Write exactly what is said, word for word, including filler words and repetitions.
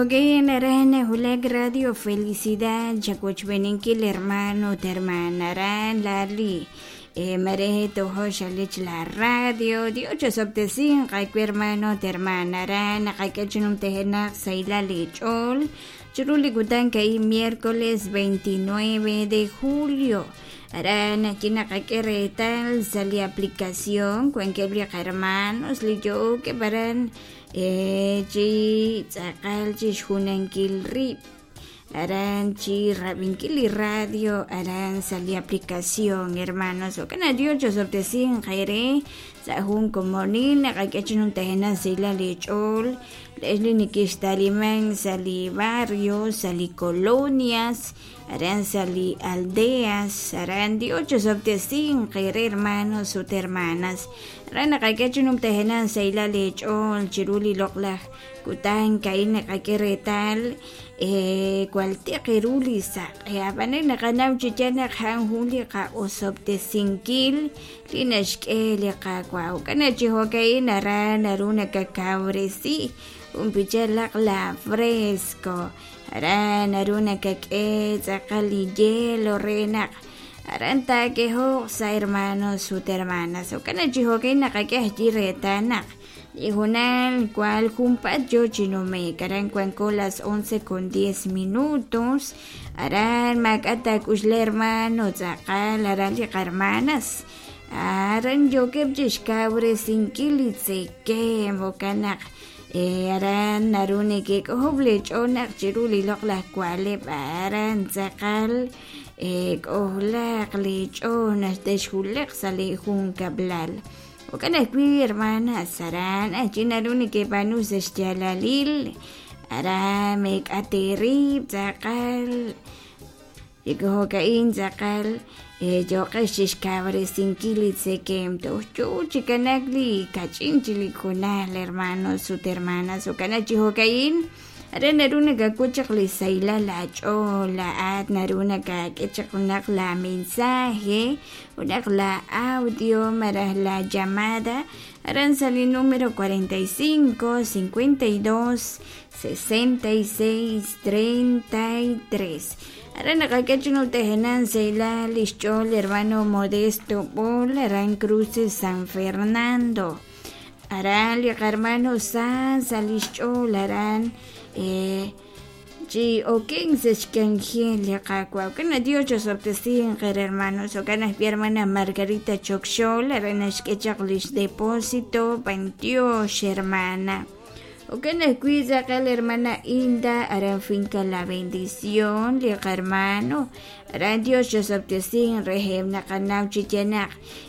Aran nahulak Radio Felicidad chawochb'eninkil hermano ut hermana aran lali mare tojo xalich la radio Dios chosob'tesinq awe hermano ut hermana aran naqak'e chinumtajenaq sahilal lich'ool chiru li kutan ka'in miércoles veintinueve de julio aran achi naqak'e reetal sa' li aplicación wankeb' li qahermanos li yo'okeb' aran chi tz'aqal chixjunankil rib' aran chi rab'inkil li radio aran sa' li aplicación hermanos jo'kan Dios chosob'tesinq eere sa' jun komonil naqak'e chinumtajenaq sahilal lich'ool le'x li nikixtaliman sa' li barrios sa' li colonias aran sa' li aldeas aran Dios chosob'tesinq eere hermanos ut hermanas aran naqak'e chinumtajenaq sahilal lich'ool chiru li loq'laj kutan ka'in naqak'e reetal cual tiq ru li saq'e ab'an naqanaw chi yaal naq ja'an jun li qa'osob'tesinkil li naxk'e li Qaawa' jo'kan chi jo'ka'in aran naru nakakawresi junpichalaq la fresco aran naru nakak'e tz'aqal li hielo re naq aran taak'ejoq sa' hermanos ut hermanas jo'kan chi jo'ka'in naqak'e ajwi' reetal naq li junal cual junpaat yo chi nume'k aran wanko las once con diez minutos aran maak'a' taak'uxla hermano tz'aqal aran li qahermanas aran yookeb' chixkawresinkil li tzekemq jo'kan naq aran naru neke'k'ojob' lich'ool naq chiru li loq'laj wa'leb' aran tz'aqal k'ojlaq lich'ool naq texwulaq sa' li junkab'lal jo'kan ajwi' hermanas aran achi naru nekeb'aanu sa' xyaalalil aran meek'at eerib' tz'aqal jo'ka'in tz'aqal yo'qex chixkawresinkil li tzekemq toj yoo chi kanak li kach'in chi li junal hermanos ut hermanas jo'kan chi jo'ka'in aran naru nakak'ut chaq li sahilal laach'ool laa'at naru nakak'e chaq junaq la mensaje junaq la audio malaj la llamada aran sa' li número cuarenta y cinco, cincuenta y dos, sesenta y seis, treinta y tres aran naqak'e chinumtajenaq sahilal lixch'ool hermano Modesto Bol aran Cruces San Fernando aran li qahermano San sa' lixch'ool aran chi oken sa' xk'anjel li Qaawa' jo'kan Dios chosob'tesinq eere hermanos jo'kan ajwi' hermana Margarita Chokxol aran naxk'e chaq lix depósito b'antiox hermana jo'kan ajwi' tz'aqal hermana Hilda aran finca La Bendición li qahermano aran Dios chosob'tesinq reheb' naqanaw chi yaal naq